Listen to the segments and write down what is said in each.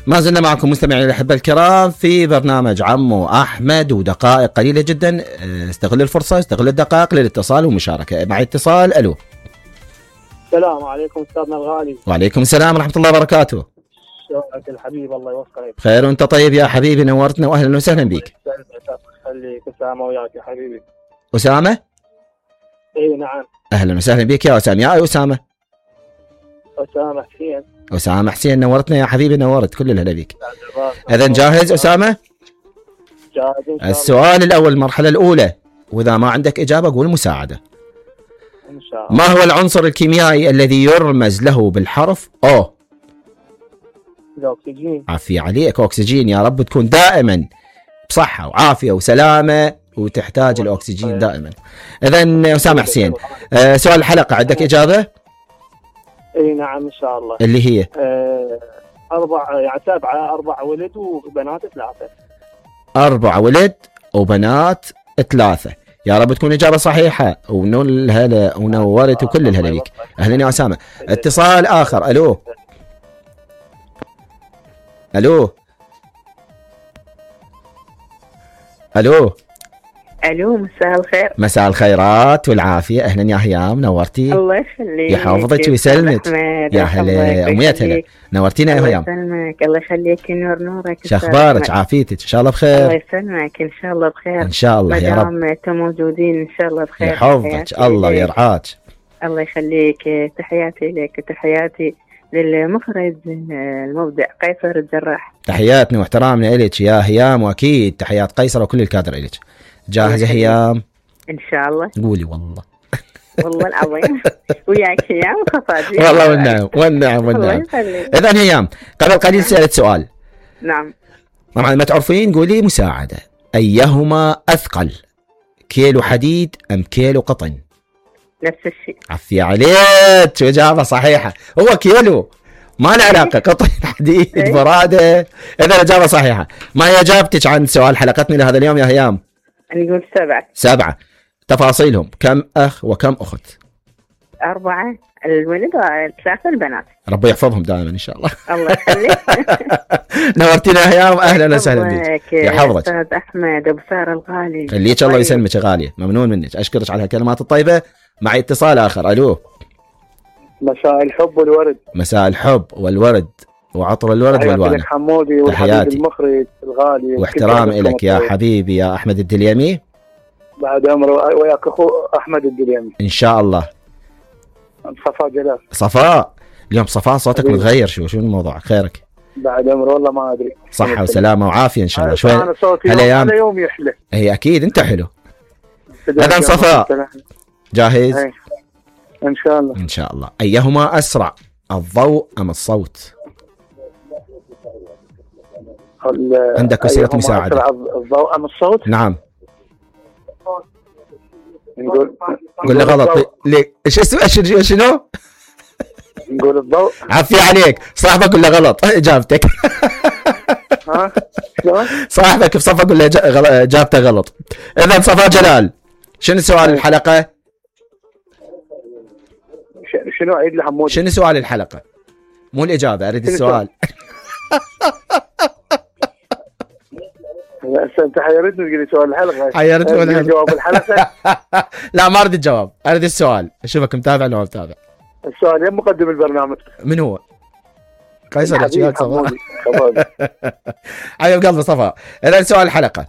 ما زلنا معكم مستمعين الأحبة الكرام في برنامج عمو أحمد، ودقائق قليلة جدا. استغل الفرصة، استغل الدقائق للاتصال والمشاركة. مع اتصال. ألو. السلام عليكم أستاذنا الغالي. وعليكم السلام ورحمة الله وبركاته. شلونك الحبيب؟ الله يوفقك. بخير وأنت طيب يا حبيبي، نورتنا وأهلا وسهلا بك. خليك أسامة وياك يا حبيبي. أسامة؟ إي نعم. أهلا وسهلا بك يا أسامة. يا أسامة. أسامة حسين. أسامة حسين، نورتنا يا حبيبي، نورت كل الهلا بك. إذن جاهز أسامة؟ جاهز. السؤال الأول، المرحلة الأولى، وإذا ما عندك إجابة قول مساعدة. إن شاء الله. ما هو العنصر الكيميائي الذي يرمز له بالحرف أو؟ الأكسجين. عافية عليك، أكسجين. يا رب تكون دائما بصحة وعافية وسلامة، وتحتاج الأكسجين دائما. إذن أسامة حسين، سؤال الحلقة، عندك إجابة؟ اي نعم ان شاء الله. اللي هي 4 ولد وبنات 3. 4 ولد وبنات 3. يا رب تكون إجابة صحيحة، ونول هلا ونورت وكل الهلا بيك. أهلا يا أسامة. اتصال آخر. ألو. ألو. ألو. الو، مساء الخير. مساء الخيرات والعافيه. اهلا يا هيام، نورتي. الله يخليك. يحفظك ويسلمك. يا هلا امنيات هلا، نورتينا يا هيام. الله يسلمك. الله يخليك، نور نورك. شو اخبارك؟ عافيتك ان شاء الله بخير. الله يسلمك، ان شاء الله بخير ان شاء الله يا رب. ما دام موجودين ان شاء الله بخير. يحفظك الله ويرعاك. الله يخليك. تحياتي لك وتحياتي للمخرج المبدع قيصر الجراح. تحياتنا واحترامنا إليك يا هيام، واكيد تحيات قيصر وكل الكادر إليك. جاهزة هيام؟ ان شاء الله. قولي والله. والله العظيم وياك هيام وخفاجي. والله والنعم. اذا هيام، قبل قليل سألت سؤال. نعم. طبعا ما تعرفين قولي مساعدة. ايهما اثقل، كيلو حديد ام كيلو قطن؟ نفس الشيء. عفية عليك، اجابة صحيحة. هو كيلو، ما له علاقة قطن حديد برادة. اذا اجابة صحيحة. ما هي اجابتك عن سؤال حلقتنا لهذا اليوم يا هيام؟ نقول 7. 7. تفاصيلهم، كم أخ وكم أخت؟ 4 الولد و3 البنات. ربي يحفظهم دائما إن شاء الله. الله يخليك. نورتينا يا هيام، أهلا وسهلا بك. يحفظك أستاذ أحمد أبو سارة الغالي. خليك الله يسلمك يا غالية، ممنون منك، أشكرك على هالكلمات الطيبة. معي اتصال آخر. ألو. مساء الحب والورد. مساء مساء الحب والورد وعطر الورد والوان. حمودي والحبيب المخرج الغالي، واحترام لك يا حبيبي يا أحمد الدليمي. بعد عمر وياك أخو أحمد الدليمي إن شاء الله. صفاء جلال. صفاء، اليوم صفاء صوتك متغير، شو الموضوع؟ خيرك؟ بعد عمر والله ما أدري. صحة وسلامة وعافية إن شاء الله. شوي أنا صوتي هلا يوم يحلى. هي أكيد أنت حلو. إذن صفاء جاهز؟ إن شاء الله. إن شاء الله. أيهما أسرع، الضوء أم الصوت؟ عندك وسيلة مساعدة. الضوء أم الصوت؟ نعم. نقول لي غلط. ليه؟ شنو؟ نقول الضوء. عافية عليك، صاحبك ولا غلط إجابتك؟ ها؟ شلون؟ صاحبك بصفك ولا إجابته غلط؟ إذا صفاء جلال، شنو سؤال الحلقة؟ شنو عيد لحمود؟ شنو سؤال الحلقة؟ مو الإجابة، أريد السؤال. انت حيرتني تقول لي سؤال الحلقه. حيرتني جواب الحلقه. لا ما اريد الجواب، اريد السؤال. اشوفك متابع ولا ما متابع. السؤال يا مقدم البرنامج. من هو؟ قيصر الجيال صفاء. حبيب قلبي صفاء. اذا سؤال الحلقه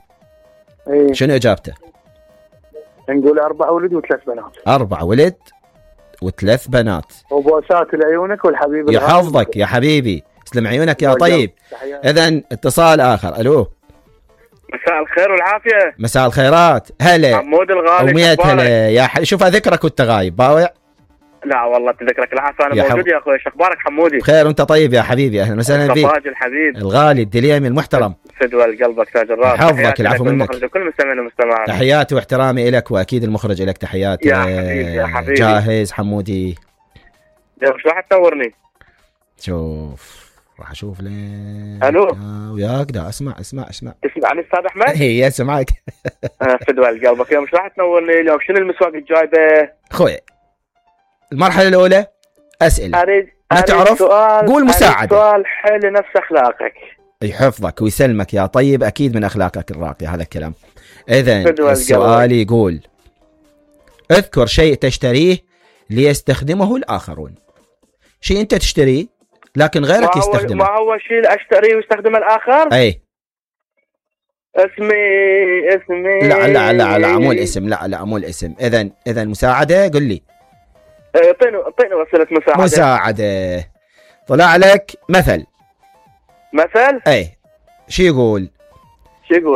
شنو اجابته؟ نقول 4 ولد و3 بنات. 4 ولد و3 بنات. وبوسات لعيونك والحبيب يحفظك يا حبيبي، تسلم عيونك يا طيب. اذا اتصال اخر. الو. مساء الخير والعافية. مساء الخيرات. هلا حمود الغالي. وميت هلا يا شوف اذكرك وانت غايب باوع. لا والله تذكرك العافية، انا موجود يا اخوي. شو اخبارك حمودي؟ بخير وانت طيب يا حبيبي. اهلا وسهلا فيك. صفاج الحبيب الغالي الدليمي المحترم. فدوى قلبك تاج الراس. حفظك العفو منك. كل مستمعين ومستمعات تحياتي واحترامي لك، واكيد المخرج لك تحياتي يا حبيبي. يا حبيبي جاهز حمودي؟ شو راح تنورني؟ شوف راح اشوف لين. الو. وياك دا اسمعني تسمعني استاذ احمد؟ هي اسمعك. فدوى قلبك. اليوم شو راح تنورني اليوم؟ شنو المسواق الجايبه؟ اخوي المرحله الاولى اسئله. ما تعرف قول مساعدة. السؤال حلو نفس أخلاقك. يحفظك ويسلمك يا طيب، أكيد من أخلاقك الراقية هذا الكلام. إذن فدوى السؤال يقول اذكر شيء تشتريه ليستخدمه الآخرون. شيء أنت تشتريه لكن غيرك يستخدمه. ما هو شيء أشتريه ويستخدمه الآخر؟ أي اسمي لا مو الاسم، لا مو الاسم. إذن مساعدة قل لي. اعطيني وسيلة مساعدة. طلع لك مثل. أي شو يقول؟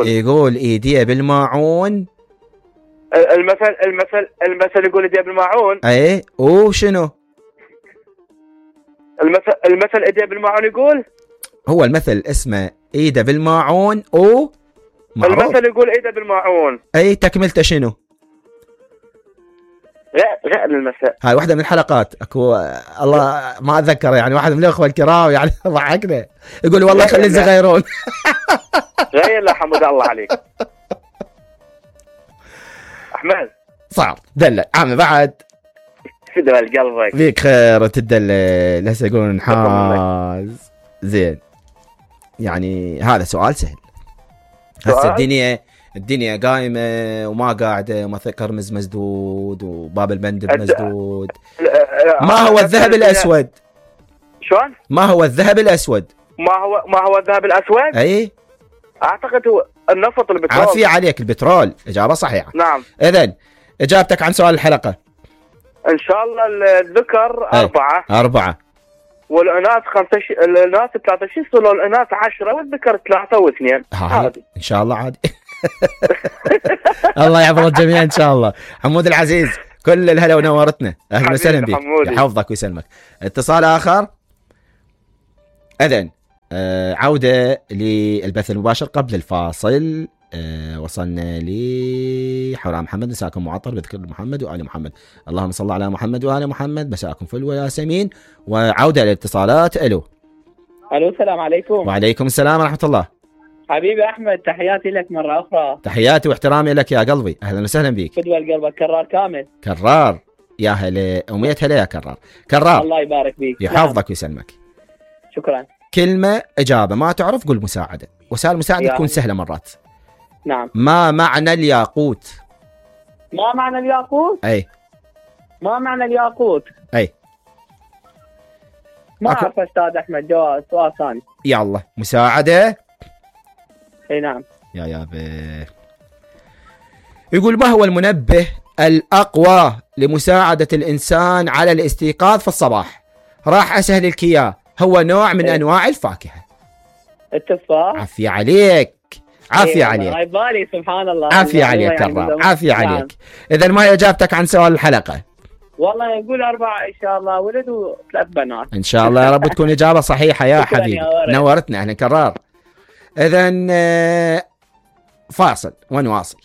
يقول ايديه بالماعون. المثل يقول ايديه بالماعون. اي وشنو؟ المثل ايديه بالماعون يقول. هو المثل اسمه ايده بالماعون المثل يقول ايده بالماعون. اي تكملته شنو؟ غير المثل. هاي واحدة من الحلقات اكو الله ما اتذكر يعني، واحد من الاخوة الكرام يعني ضحكنا يقول والله خلي الزغيرون. غير لا حمد الله عليك احمد. صعب دلع عم بعد فدوى قلبك فيك خير تدلل. هسه يقولون نحاز زين. يعني هذا سؤال سهل. هسه الدنيا قايمة وما قاعدة وما كرمز مسدود وباب المندب مسدود. ما هو الذهب الأسود؟ شلون؟ ما هو الذهب الأسود؟ ما هو الذهب الأسود؟ أي أعتقد هو النفط البترول. عافية عليك البترول، إجابة صحيحة. نعم. إذن إجابتك عن سؤال الحلقة إن شاء الله الذكر 4 والإناث 5. الإناث 13 والإناث 10 والذكر 3 و2. عادي إن شاء الله عادي. الله يحفظ الجميع إن شاء الله. حمود العزيز كل الهلا ونورتنا، أهلا وسهلا بك، يحفظك ويسلمك. اتصال آخر. إذن عودة للبث المباشر قبل الفاصل. وصلنا لحورا محمد. مساكم معطر بذكر محمد وآل محمد. اللهم صل على محمد وآل محمد. مساكم فل وياسمين. وعودة للاتصالات. الو السلام عليكم. وعليكم السلام ورحمة الله. حبيبي أحمد تحياتي لك مرة أخرى. تحياتي واحترامي لك يا قلبي، أهلا وسهلا بك. فدوى القلب كرار كامل. كرار يا هلا أمية هلا يا كرار. الله يبارك فيك. يحفظك ويسلمك. شكرا. كلمة إجابة ما تعرف قول مساعدة. وسائل المساعدة تكون سهلة مرات. نعم. ما معنى الياقوت؟ ما معنى الياقوت؟ أي ما معنى الياقوت؟ أي ما أعرف أستاذ أحمد. جواب سؤال ثاني. يلا مساعدة. أي نعم. يا يقول ما هو المنبه الأقوى لمساعدة الإنسان على الاستيقاظ في الصباح؟ راح أسهل لك إياه. هو نوع من أنواع الفاكهة. التفاح. عافية عليك. عافية عليك. هاي بالي سبحان الله. عافية عليك كرام. عافية عليك. إذا ما هي إجابتك عن سؤال الحلقة؟ والله يقول 4 إن شاء الله ولد و3 بنات. إن شاء الله يا رب تكون إجابة صحيحة يا حبيبي. نورتنا أهلا كرار. إذا فاصل ونواصل.